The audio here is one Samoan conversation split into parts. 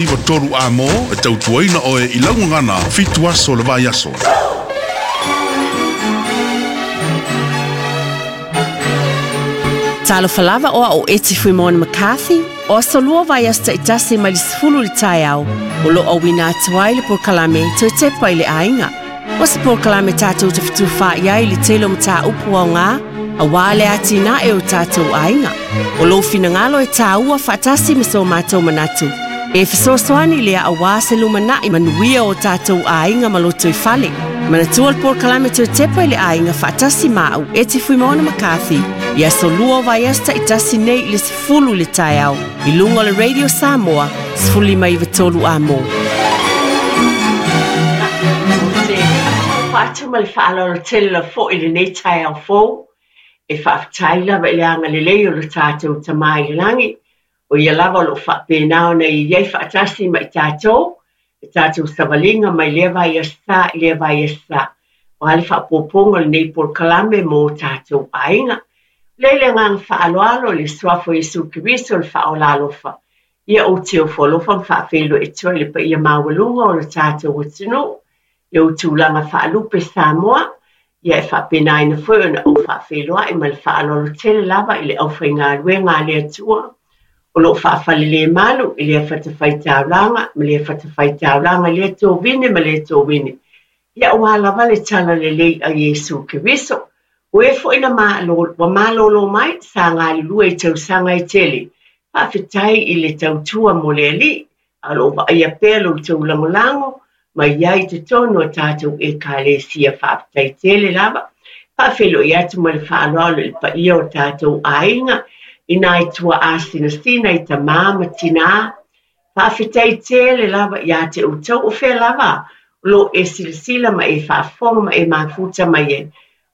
93 A mo e tautuaina oe i lau gagana 7 aso o le vaiaso. Talofa lava o au o Eti Fuimaono McCarthy, o aso lua vaiaso taitasi mai le 10 i le taeao, o lo o auina atu ai le polokalame Toe Tepa i le Aiga. O se polokalame tatou te fetufaai ai i le tele o mataupu aoga aua le atinae o tatou aiga. O lou finagalo e tāua faatasi ma so matou manatu. E fesoasoani lea aua se lumanai manuia o tatou aiga ma lotoifale. Manatua le polokalame Toe Tepa i le Aiga faatasi ma au Eti Fuimaono McCarthy i aso lua o vaiaso taitasi nei i le 10 i le taeao i luga o le Radio Samoa 1593 A mo. Ou te faatalofa atu ma le faaaloalo tele lava foi i lenei taeao fou. E faafetai lava i le agalelei o lo tatou Tama i le lagi, o ia lava o lo o faapena ona e i ai faatasi ma i tatou, le tatou savaliga mai lea vaiaso sa i lea vaiaso sa. O a le faaopoopoga o lenei polokalame mo tatou aiga. Lea i le agaga faaaloalo i le Suafa o Iesu Keriso le Faaola alofa, ia ou te ofo alofa ma faafeiloai atu ai i le paia maualuga o le tatou atunuu, i ou tulaga faalupe Samoa, ia e faapenaina foi ona ou faafeiloai ma le faaaloalo tele lava i le aufaigaluega a le Atua, o lo o faafalelemalu i lea fatafaitaulaga ma lea fatafaitaulaga i lea tovine ma lea tovine, ia aua lava le talalelei a Iesu Keriso. O e foi na malo, ua malolo mai, sa galulue i tausaga e tele. Faafetai i le tautua mo le Alii, a o lo o vaaia pea lo outou lagolago mai ai i totonu o tatou Ekalesia. Faafetai tele lava. Faafeiloai atu ma le faaaloalo i le paia o tatou aiga, i nai tuaa sinasina i tamā ma tinā. Faafetai tele lava ia te outou o fea lava o lo o e silasila ma e faafofoga ma e mafuta mai ai.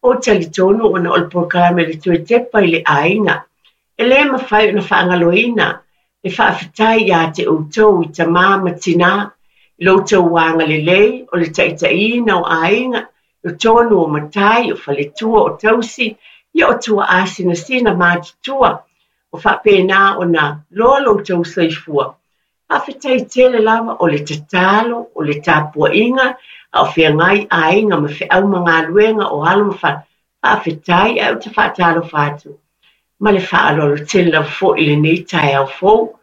Ou te talitonu ona o le polokalame le Toe Tepa i le Aiga. E le mafai ona faagaloina le faafetai ia te outou i tamā ma tinā, i lo outou agalelei o le taitaiina o aiga, i totonu o matai, o faletua, o tausi, ia o tuaa sinasina matutua, o faapena ona loa lo outou soifua. Faafetai tele lava o le tatalo, o le tapuaiga, a o feagai aiga ma feau ma galuega o alo ma fa. Faafetai, ae ou te faatalofa atu ma le faaaloalo tele lava foi i lenei taeao fou.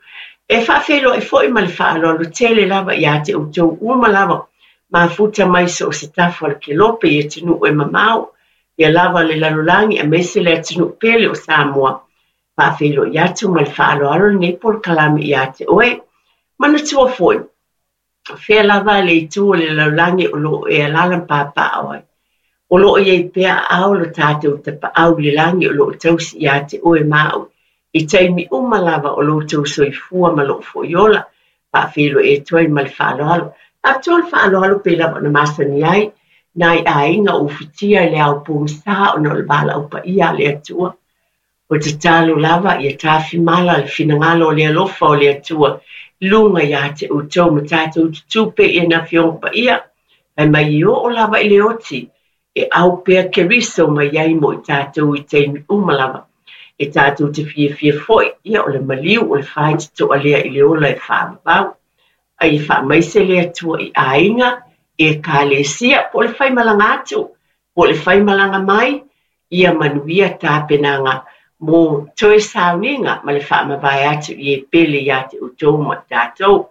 E faafeiloai foi ma le faaaloalo tele lava ia te outou uma lava, mafuta mai so o se tafa o le kelope i atunuu e mamao, ia lava le lalolagi aemaise le atunuu pele o Samoa. Faafeiloai atu ma le faaaloalo lenei polokalame ia te oe. Manatua foi, fea lava le itu o le lalolagi o lo o e alaala ma papaaao ai. O lo o i ai pea aao lo tatou tapaau i le lagi o lo o tausi ia te oe ma au i taimi uma lava o lo outou soifua ma lou foi ola. Faafeiloai atu ai ma le faaaloalo. Faapitoa le faaaloalo pei lava ona masani ai nai aiga o ufitia i le ao pogisa ona o le valaau paia a le Atua. O tatalo lava ia tafimala le finagalo o le alofa o le Atua i luga ia te outou ma tatou tutū pea i ana afioga paia, fai mai e oo lava i le oti e au pea Keriso mai ai mo i tatou i taimi uma lava. E tatou te fiafia foi, ia o le maliu o le faitotoa lea i le ola e faavavau. Ai e faamaise le Atua i aiga, Ekalesia, po o le faimalaga atu, po o le faimalaga mai, ia manuia tapenaga mo toe sauniga ma le faamavae atu i e pele ia te outou ma i tatou.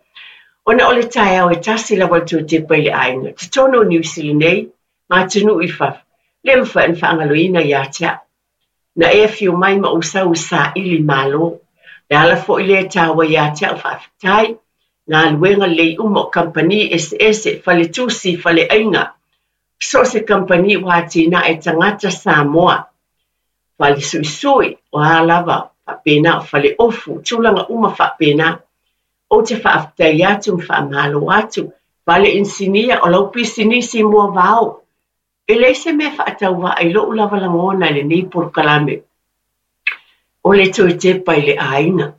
Ona o le taeao e tasi lava le Toe Tepa i le Aiga, totonu o Niu Sila nei, ma atunuu i fafo, le mafai ona faagaloina ia te au. Na e afio mai ma ou sau i saili malo. Le ala foi lea e taua ia te au faafetai, galuega lelei uma o kamupani eseese, faletusi, faleaiga, so o se kamupani ua atinae tagata Samoa, fale suisui, o a lava, faapena o fale ofu, tulaga uma faapena. Ou te faafetai atu ma faamalo atu, fale inisinia, o lau pisinisi moavao. E leai se mea faatauvaa i lou lava lagona i lenei polokalame. O le Toe Tepa i le Aiga.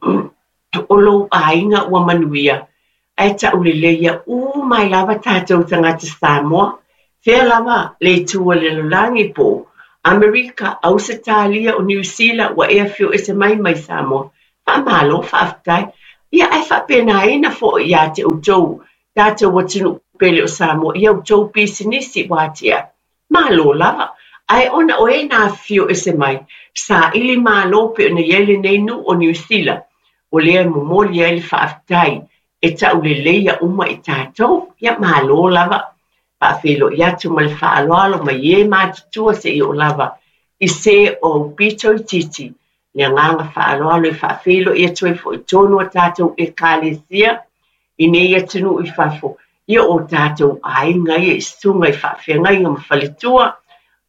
O lou aiga ua manuia, ae tauleleia uma ai lava tatou tagata Samoa. Fea lava le itu o le lalolagi po o Amerika, Ausetalia, o Niu Sila ua e afio ese mai mai Samoa. Faamalo, faafetai. Ia, ae faapenaina foi ia te outou, tatou atunuu pele o Samoa, i a outou pisinisi ua atiae. Malo lava. Ae ona o e na afifio ese mai, saili malo pei ona i ai lenei nuu o Niu Sila, o lea e momoli ai le faafetai e tauleleia uma i tatou. Ia, malo lava. Faafeiloai atu ma le faaaloalo mai e matutua seia oo lava i se o aupito itiiti. Le agaga faaaloalo e faafeiloai atu ai foi i totonu o tatou Ekalesia i nei atunuu i fafo, ia o tatou aiga ia i susuga i faafeagaiga ma faletua,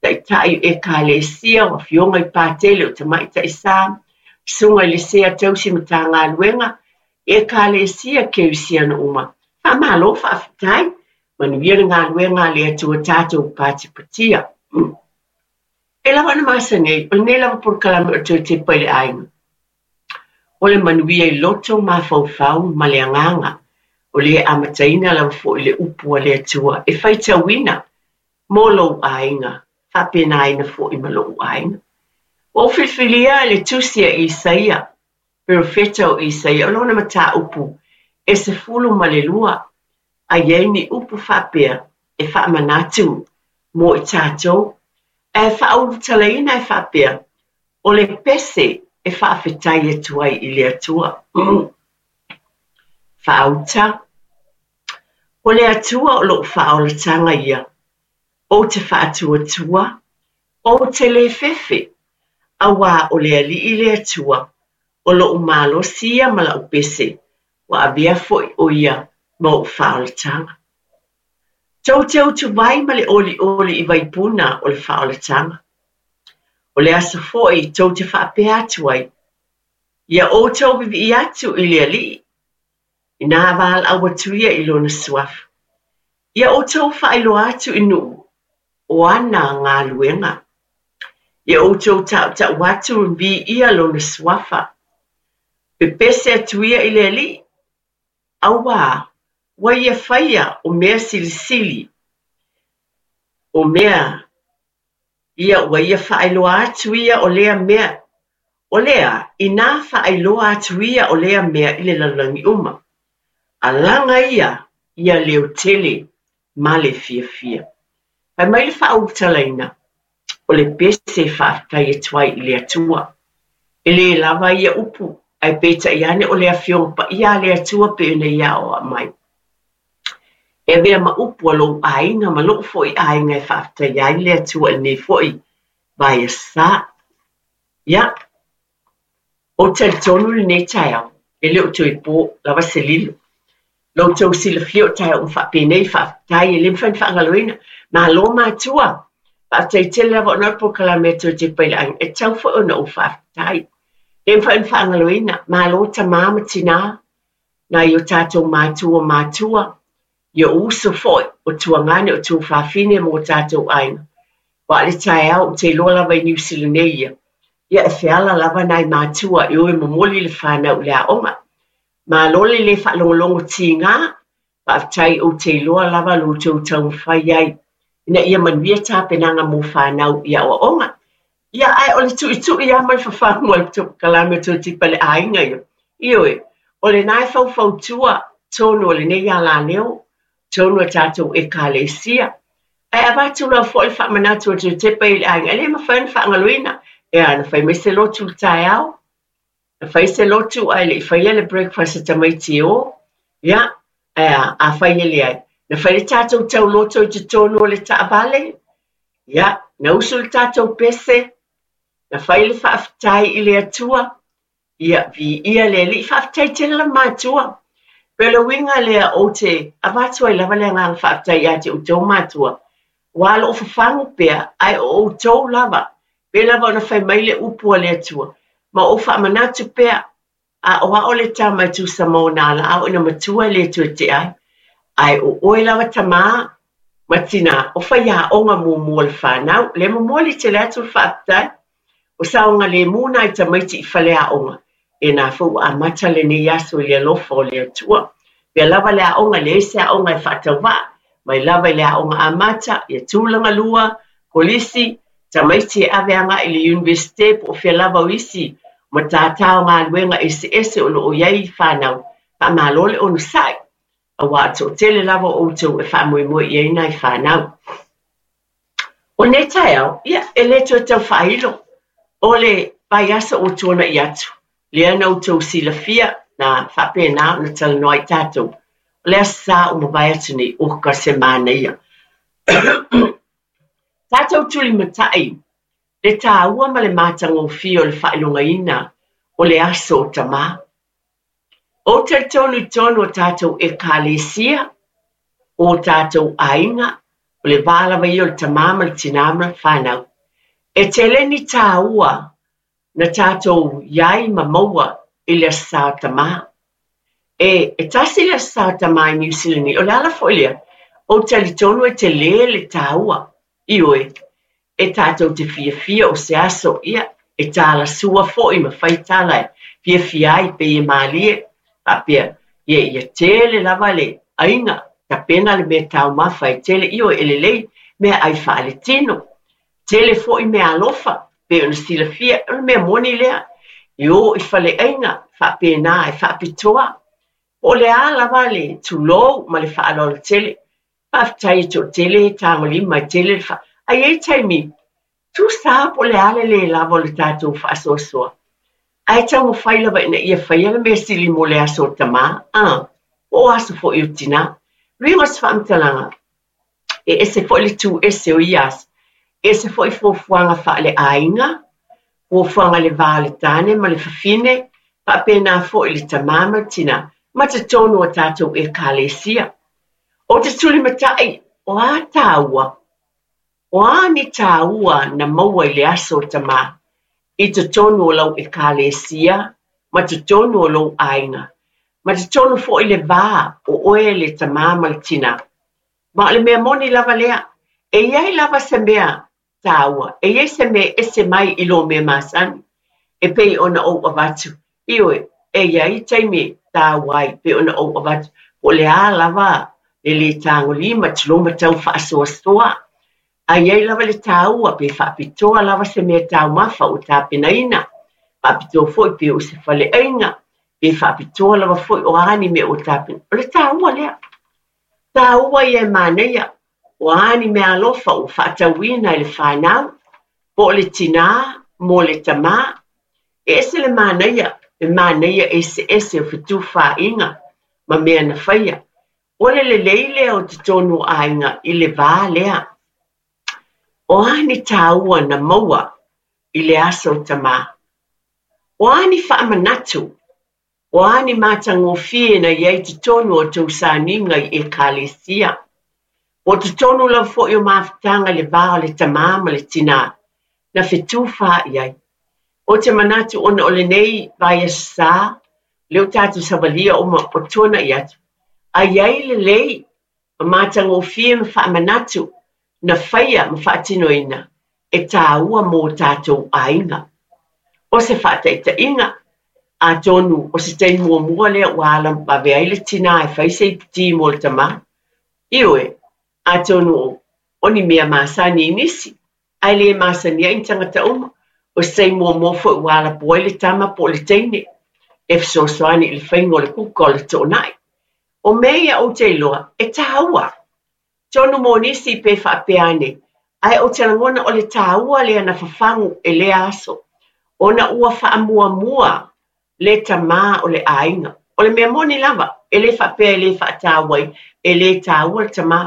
taitai o Ekalesia, o afioga i Patele, o tamaitai sa, susuga i le Sea Tausi Matagaluega, Ekalesia Kerisiano uma. Faamalo faafetai, manuia le galuega a le Atua tatou patipatia. E lava ona masani ai, o lenei lava polokalame o le toe tepa i le aiga. O le manuia i loto, mafaufau ma le agaga. O lea e amataina lava foi le upu a le Atua e faitauina mo lou aiga, faapenaina foi ma lou aiga. Ua ou filifilia le tusi a Isaia, perofeta o Isaia, o lona mataupu e 12, a i ai ni upu faapea e faamanatu mo i tatou, ae faaulutalaina e faapea, O le pese e faafetai atu ai i le Atua. Faauta, O le Atua o lou faaolataga ia, ou te faatuatua, ou te le fefe, auā o le Alii le Atua, o lou malosi ia ma lau pese, ua avea foi ʻo ia ma ou faaolataga. Tou te utuvai ma le olioli i vaipuna o le faaolataga. O le aso foi tou te faapea atu ai, Ia outou vivii atu i le Alii, inā valaau atu ia i lona suafa. Ia outou faailoa atu i nuu o ana galuega. Ia outou tautau atu viia lona suafa. Pepese atu ia i le Alii, auā ua ia faia o mea silisili, o mea ia ua ia faailoa atu ia o lea mea, o lea inā faailoa atu ia o lea mea i le lalolagi uma. Alaga ia ia leo tele ma le fiafia. Fai mai le faaulutalaina, o le pese e faafetai atu ai i le Atua. E lē lava ia upu, ae peitai ane o le Afioga Paia a le Atua pei ona Ia aoao mai. E avea ma upu a lou aiga ma lou foi aiga e faafetaia ai le Atua i lenei foi vaiaso sa. Ia, Ou te talitonu i lenei taeao, e le o toe po lava se lilo. Lo outou silafia o taeao uma faapenei, faafetai, e le mafai ona faagaloina. Malo matua! Faafetai tele lava ona o le polokalame a Toe Tepa i le Aiga, e tatau foi ona ou faafetai. E le mafai ona faagaloina. Malo tama ma tinā, nai o tatou matua matua, i ou uso foi, o tuagane, o tuafafine ma o tatou aiga. Aua o le taeao ou te iloa lava i Niu Sila nei ia, ia e feala lava nai matua e o e momoli le fanau i le aoga. Malo le le faalogologo tiga, faafetai ou te iloa lava lo outou taumafai ai ina ia manuia tapenaga mo fanau i aoaoga. Ia, ae o le tuitui lava ma le fafagu o le polokalame o Toe Tepa i le Aiga ia. Ioe, o lena e faufautua tonu o lenei alaleo, tonu a tatou Ekalesia. Ae avatu lava foi le faamanatu a Toe Tepa i le Aiga, e le mafai ona faagaloina. Ea, na fai mai se lotu i le taeao, na fai se lotu ae le i faia le breakfast a tamaiti e o. Ia, ae a, afai e leai, na fai le tatou tauloto i totonu o le taavale, Ia, na usu le tatou pese, na fai le faafetai i le Atua, ia, viia le Alii, faafetai tele lava matua. Pei o le uiga lea ou te avatu ai lava le agaga faafetai ia te outou matua, aua o lo o fafagu pea, ae o outou lava, pei lava ona fai mai le upu a le Atua, ma ou faamanatu pea, A o a'o le tama e tusa ma ona alaao ina matua e le toe tea ai. Ae o oe lava tamā ma tinā, o faiaoga muamua o le fanau, lea momoli tele atu le faafetai. O saogalemu nai tamaiti i faleaoga, e nā foi ua amata lenei aso i le alofa o le Atua. Pea lava le aoga, e leai se aoga e faatauvaa, mai lava i le aoga amata, ia tulaga lua, kolisi, tamaiti e ave agai i le Iunivesite po o fea lava o isi matata o galuega eseese o lo o i ai fanau. Faamalo le onosai, auā o le toatele lava o outou e faamoemoe i ai nai fanau. O lenei taeao, ia, e le toe tau faailo, o le vaiaso ua tuanai atu, lea na outou silafia, na faapena ona talanoa ai tatou, o le Aso Sa ua mavae atu nei, oka se manaia. Tatou tulimatai le taua ma le matagofie o le faailogaina o le Aso o Tamā. Ou te talitonu i totonu o tatou Ekalesia, o tatou aiga, o le va lava ia o le tamā ma le tinā ma le fanau. E tele ni taua na tatou i ai ma maua i le Aso Sa o Tamā. E, e tasi le Aso Sa o Tamā i Niu Sila nei, o le ala foi lea, ou te talitonu e telē le taua. Ioe, e tatou te fiafia o se aso, ia, e talasua foi ma fai tala e fiafia ai, pei e malie, faapea, ia, ia tele lava le aiga, tapena le mea taumafa e tele, ioe, e lelei, meaai faaletino, tele foi meaalofa, pei ona silafia, o le mea moni lea, e o i faleaiga, faapena e faapitoa, po o le a lava le tulou ma le faaaloalo tele. Faafetai e toatele e tagolima e tele le fa... Ae i ai taimi, tusa po o le a le lē lava o le tatou faasoasoa, ae taumafai lava ina ia faia le mea sili mo le aso o tamā, a, po o aso foi o tinā. O le uiga o se faamatalaga, e ese foi le tu ese o ia aso, e ese foi fuafuaga faaleaiga, fuafuaga i le va o le tane ma le fafine, faapena foi i le tamā ma le tinā, ma totonu o tatou Ekalesia. Ou te tulimatai, o a tāua? O a ni tāua na maua i le Aso o Tamā, i totonu o lau Ekalesia, ma totonu o lou aiga, ma totonu foi le va o oe le tamā ma le tinā? Ma o le mea moni lava lea, e i ai lava se mea tāua, e i ai se mea e ese mai i lō mea masani, e pei ona ou avatu, ioe, e i ai taimi e tāua ai, pei ona ou avatu, po o le a lava le lē tagolima, tulou ma tau faasoasoa, a i ai lava le tāua, pe faapitoa lava se mea taumafa ua tapenaina, faapitoa foi pe o se faleaiga, pe faapitoa lava foi o a ni mea ua tapena, o le tāua lea. Tāua ia e manaia, o a ni meaalofa ua faatauina e le fanau, po o le tinā mo le tamā. E ese le manaia, le manaia eseese o fetufaaiga ma mea na faia. O le lelei lea o totonu o aiga i le va lea. O a ni tāua na maua i le aso o tamā? O a ni faamanatu? O a ni matagofie na i ai totonu o tou sauniga i Ekalesia? Po o totonu lava foi o mafutaga i le va o le tamā ma le tinā, na fetufaai ai. Ou te manatu ona o lenei vaiaso sa, lea ua tatou savalia uma o tuanai atu, a i ai lelei ma matagofie ma faamanatu na faia ma faatinoina e tāua mō tātou aiga. O se faataitaiga, atonu o se taimi muamua lea ua ala vave ai le tinā e fai se iputī mo le tamā. Ioe, atonu o ni mea masani i nisi, ae le masani ai ni tagata uma. O se taimi muamua foi ua alapo ai le tama po o le teine e fesoasoani i le faiga o le kuka o le toonai. O mea ia ou te iloa e tāua. Tonu mo nisi pe faapea ane, ae ou te lagona o le tāua lea na fafagu e lea aso, ona ua faamuamua le tamā o le aiga. O le mea moni lava, e le faapea e le faataua ai, e le tāua le tamā.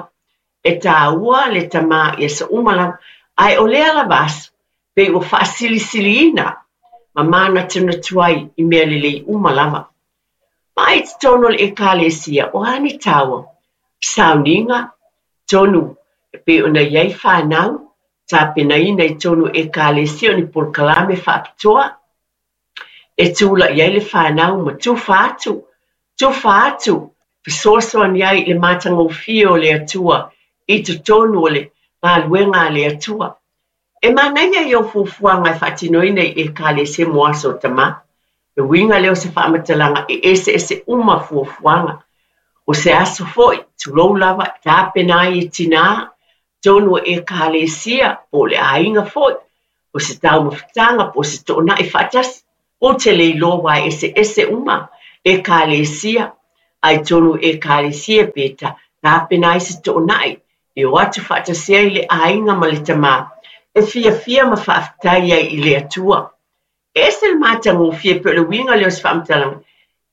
E tāua le tamā i aso uma lava, ae o lea lava aso, pei ua faasilisiliina ma manatunatu ai i mea lelei uma lava. Ma i totonu o le Ekalesia, o a ni tāua? Sauniga, tonu e pei ona i ai fanau, tapenaina i totonu o Ekalesia o ni polokalame faapitoa e tula'i ai le fanau ma tufa atu, tufa atu, fesoasoani ai i le matagofie o le Atua i totonu o le galuega a le Atua. E manaia i ou fuafuaga e faatinoina i Ekalesia mo aso o tamā. Le uiga lea o se faamatalaga e eseese uma fuafuaga. O se aso foi, tulou lava, e tapena ai e tinā, tonu o Ekalesia, po o le aiga foi, o se taumafataga po o se toonai faatasi. Ou te le iloa aua e eseese uma Ekalesia. A i totonu o Ekalesia pe tapena ai se toonai e o atu faatasi ai le aiga ma le tamā e fiafia ma faafetai ai i le Atua. E ese le matagofie pei o le uiga lea o se faamatalaga,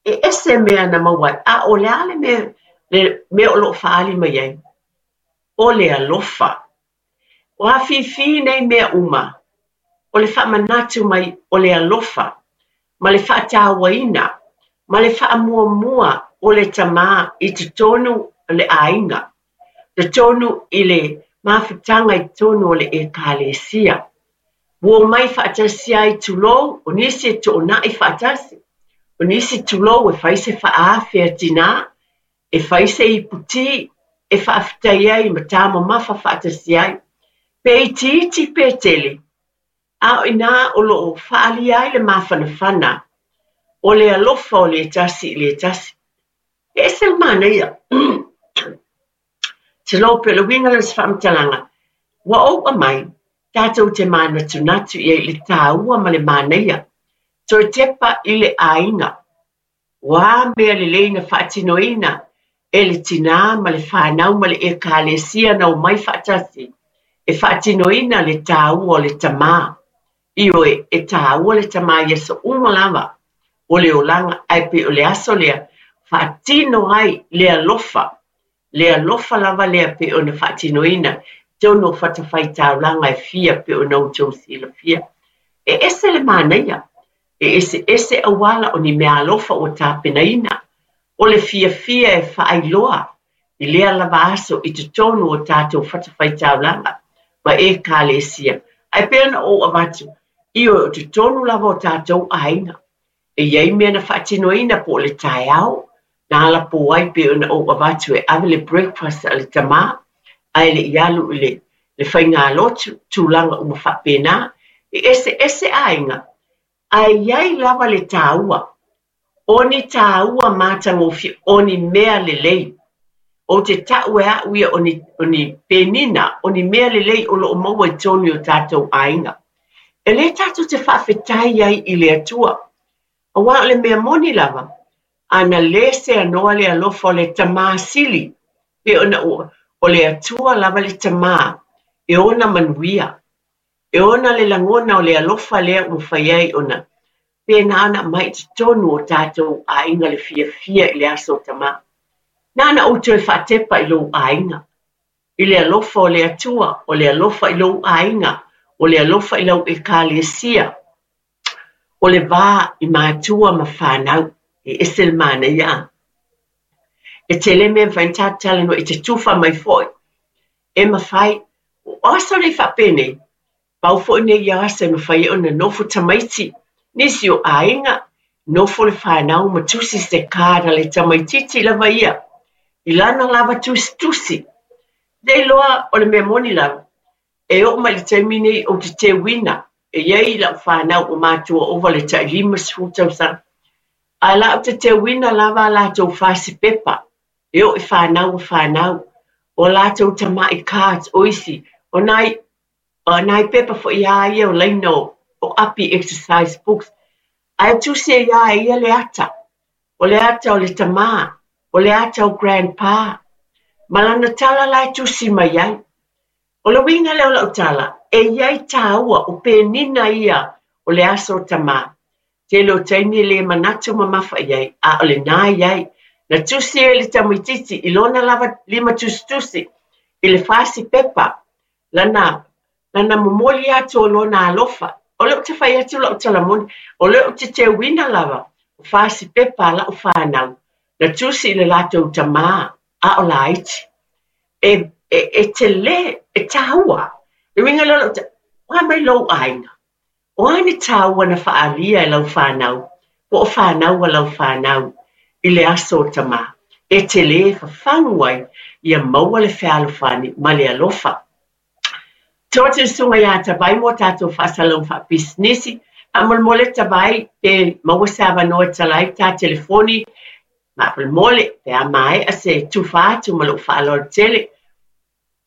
e ese mea na maua ai, a o le a le mea, le mea o lo o faaali mai ai? O le alofa. O afifi nei mea uma, o le faamanatu mai o le alofa ma le faatauaina ma le faamuamua o le tamā i totonu o le aiga, totonu i le mafutaga i totonu o le Ekalesia. Ua omai faatasi ai tulou, o nisi e toonai faatasi, o nisi tulou e fai se faaafe a tinā, e fai se ipu ti e faafetai ai ma tāmamafa faatasi ai, pe itiiti pe tele, a o i inā o lo o faaalia ai le mafanafana o le alofa o le tasi i le tasi. E ese le manaia. Tulou pei o le uiga lea o se faamatalaga, ua ou aumai, tatou te manatunatu i ai i le tāua ma le manaia, toe tepa i le aiga. O a mea lelei na faatinoina e le tinā ma le fanau ma le Ekalesia na omai faatasi e faatinoina le tāua o le tamā. Ioe, e tāua le tamā i aso uma lava o le olaga, ae pei o le aso lea faatino ai le alofa, le alofa lava lea pei ona faatinoina i totonu o fatafaitaulaga e fia pei ona outou silafia. E ese le manaia, e eseese auala o ni meaalofa ua tapenaina, o le fiafia e faailoa i lea lava aso i totonu o tatou fatafaitaulaga ma Ekalesia. Ae pei ona ou avatu, ioe, o totonu lava o tatou aiga, e i ai mea na faatinoina po o le taeao, na alapō ai pei ona ou avatu e ave le breakfast a le tamā, ae le i alu i le le faigalotu, tulaga uma faapena, e eseese aiga, ae i ai lava le tāua, o ni tāua matagofie, o ni mea lelei. Ou te tau e au ia o ni, o ni penina, o ni mea lelei o lo o maua i totonu i o tātou aiga. E lē tatou te faafetai ai i le Atua, aua o le mea moni lava, a na lē seanoa le alofa o le Tamā Sili, pei ona ua, o le Atua lava le Tamā e ona manuia, e ona le lagona o le alofa lea ua mafai ai ona pēnā ona aumai i totonu o tātou aiga le fiafia i le aso o Tamā. Na ona ou toe faatepa i lou aiga, i le alofa o le Atua, o le alofa i lou aiga, o le alofa i lau Ekalesia, o le va i matua ma fanau, e ese le manaia. E tele mea e mafai ona tatou talanoa i te tufa mai foi. E mafai, o aso nei faapenei, pau foi nei ia aso e mafai ai ona nofo tamaiti, nisi o aiga, nofo le fanau ma tusi se card a le tamaitiiti lava ia, i lana lava tusitusi. Le iloa o le mea moni lava, E oo mai i le taimi nei ou te teuina, e i ai lau fanau ua matua ova le tai 50 tausaga, ae la ou te teuina lava a latou fasi pepa, e oo i fanau a fanau, o a latou tamai cards, o isi, o nai, o nai pepa foi lava ia o laina o, o api exercise books, ae tusi ai lava e ia le ata, o le ata o le tamā, o le ata o grandpa, ma lana tala la e tusi mai ai. O le uiga lea o lau tala, e i ai tāua, o penina ia o le aso o Tamā. Tele o taimi e le manatu mamafa i ai, a o lenā i ai. Na tusi ai le tamaitiiti i lona lava limatusitusi i le fasi pepa, lana, lana momoli atu o lona alofa. O lea ou te fai atu lau tala moni, o lea ou te teuina lava o fasi pepa a lau fanau, na tusi i le latou tamā, a o laiti. E, e, e tele, e tāua. Le uiga lea o lau tala, o a mai lou aiga? O a ni tāua na faaalia e lau fanau, po o fanau a lau fanau i le aso o Tamā, e tele e fafagu ai ia maua le fealofani ma le alofa. To atu le susuga iā Tavai mo a tātou faasalalauga faapisinisi. Faamolemole Tavai pe maua se avanoa e tala ai ta telefoni. Faamolemole pe a maea se tufa atu ma lou faaaloalo tele.